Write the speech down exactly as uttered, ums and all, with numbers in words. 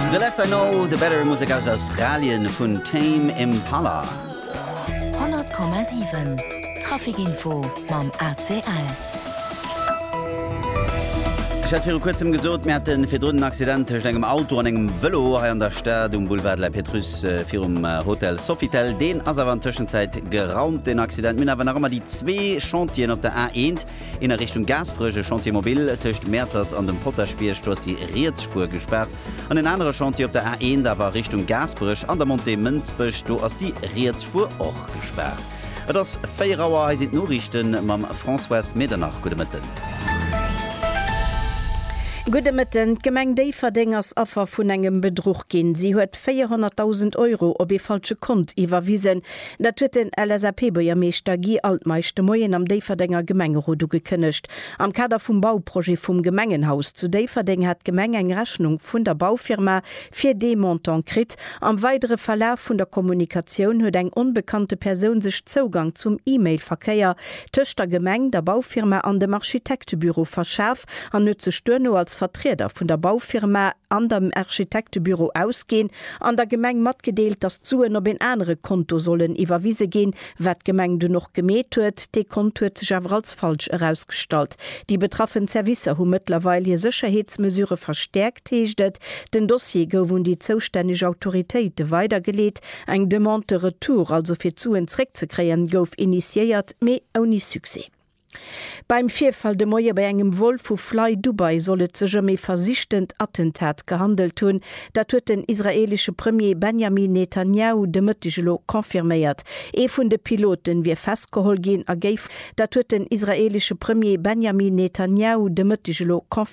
The less I know, the better Musek aus Australien vun Tame Impala. honnert Komma siwen Traficinfo mam A C L. Ech hat viru kuerzem gesot, mir haten virdrun en Accident tëscht engem Auto an engem Vëlo hei an der Stad um Boulevard de la Pétrusse virum Hotel Sofitel. Deen ass awer an Tëschenzäit geraumt, deen Accident. Mir hunn awer nach ëmmer déi zwee Chantieren op der A eent, een a Richtung Gaasperech, e Chantier mobile tëscht Mäertert an dem Potaschbierg, do ass déi riets Spuer gespaart. An en anere Chantier op der A eent awer a Richtung Gaasperech an der Montée Mënsbech, do ass déi riets Spuer och gespaart. Et ass véier Auer, hei sinn d'Noriichte mam Françoise Medernach. Gudde Mëtten. Gudde Mëtten. D'Gemeng Déifferdeng ass Affer vun engem Bedruch ginn. Si huet véierhonnertdausend Euro op ee falsche Kont iwwerwisen. Dat huet den L S A P-Buergermeeschter Guy Altmeisch de Moien am Déifferdenger Gemengerot ugekënnegt. Am Kader vum Bauprojet vum Gemengenhaus zu Déifferdeng hat d'Gemeng eng Rechnung vun der Baufirma fir dee Montant kritt. Am weidere Verlaf vun der Kommunikatioun huet eng onbekannte Persoun sech Zougang zum E-Mail-Verkéier tëscht der Gemeng, der Baufirma an dem Architektebüro verschaf an huet sech duerno als Vertrieder vun der Baufirma an dem Architektebüro ausginn an der Gemeng matgedeelt, datt d'Suen op en anere Konto sollen iwwerwise ginn, wat d'Gemeng dunn och gemeet huet. Dee Kont huet sech awer als falsch erausgestallt. Déi betraffen Servicer hu mëttlerweil hir Sécherheetsmesurë verstäerkt, heescht et. Den Dossier gouf un déi zoustänneg Autoritéite weidergeleet. Eng Demande de retour, also fir d'Suen zréckzekréien, gouf initiéiert, mee ouni Succès. Beim Virfall de Moie bei engem Vol vu Fly Dubai soll et sech ëm e versichtent Attentat gehandelt hunn. Dat huet den israeelesche Premier Benjamin Netanjahu de Mëtteg elo confirméiert. Ee vun de Piloten wier festgeholl ginn a géif. Dat huet den israeelesche Premier Benjamin Netanjahu de Mëtteg elo confirméiert.